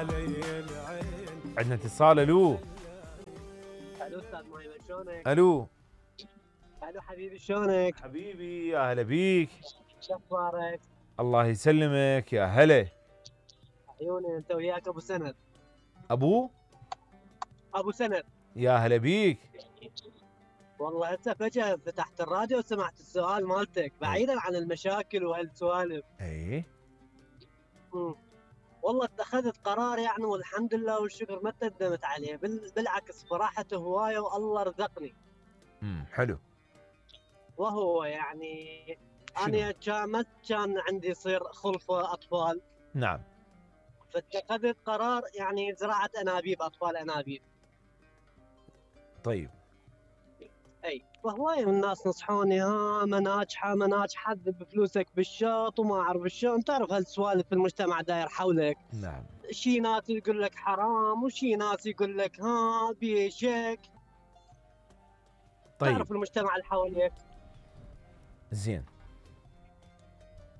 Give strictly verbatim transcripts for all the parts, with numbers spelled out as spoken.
عندنا اتصال. الو الو استاذ مايمن شلونك؟ الو الو حبيبي شلونك؟ حبيبي يا هلا بيك. شو اخبارك؟ الله يسلمك يا هلا. عيوني انت وياك ابو سند. ابو ابو سند يا هلا بيك. والله هسه فجأة فتحت الراديو وسمعت السؤال مالتك بعيدا عن المشاكل وهالسوالف. اي امم والله اتخذت قرار يعني والحمد لله والشكر ما ندمت عليه، بال... بالعكس فرحت هوايه والله رزقني. امم حلو. وهو يعني شنو؟ انا كان ما كان عندي يصير خلفه اطفال، نعم. فاتخذت قرار يعني زراعه انابيب، اطفال انابيب. طيب. اي فهواي من الناس نصحوني ها ما ناجحه ما ناجحه بفلوسك بالشط وما اعرف شلون، تعرف هالسوالف في المجتمع داير حولك. نعم. شي ناس يقول لك حرام وشي ناس يقول لك ها بيشك. طيب تعرف المجتمع اللي حواليك. زين.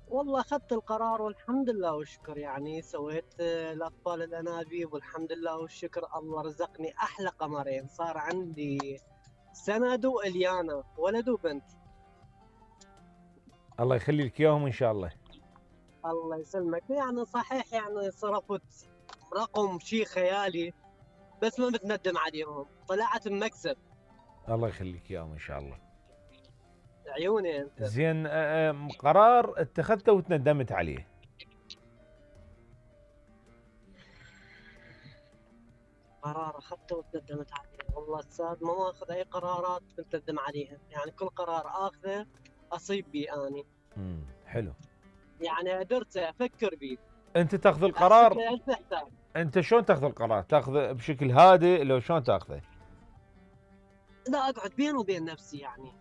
والله اخذت القرار والحمد لله والشكر، يعني سويت آه، الاطفال الانابيب والحمد لله والشكر الله رزقني احلى قمرين، صار عندي سند واليانا ولد وبنت. الله يخلي لك اياهم ان شاء الله. الله يسلمك. يعني صحيح يعني صرفت رقم شيء خيالي بس ما بتندم عليهم، طلعت بمكسب. الله يخليك اياهم ان شاء الله. عيوني انت. زين. آه، آه، قرار اتخذته وتندمت عليه. قرار اخذته وتندمت عليه، والله استاذ ما اخذ اي قرارات بتندم عليها، يعني كل قرار اخذه اصيب بيه اني. امم حلو. يعني قدرت افكر بيه. انت تاخذ احسب القرار. له ألف حساب. انت شلون تاخذ القرار؟ تاخذه بشكل هادئ لو شلون تاخذه؟ لا اقعد بيني وبين نفسي يعني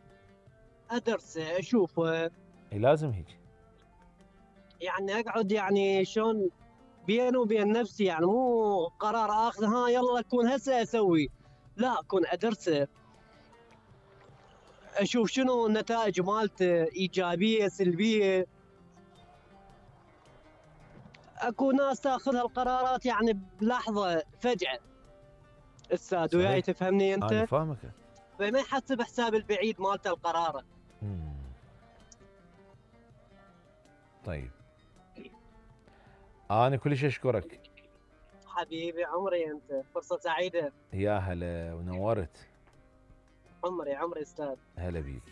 ادرسه اشوفه، اي لازم هيك. يعني اقعد يعني شلون بيني وبين نفسي، يعني مو قرار اخذ ها يلا اكون هسه اسوي، لا اكون ادرسه اشوف شنو النتائج مالته ايجابيه سلبيه. اكو ناس تاخذ هالقرارات يعني بلحظه فجاه استاذ، وياي صحيح. تفهمني انا انت؟ فاهمك. فما يحسب حساب البعيد مالته القرار. مم. طيب. انا كلش اشكرك. حبيبي عمري انت، فرصه سعيده. يا هلا ونورت. عمري عمري استاذ. هلا بيك.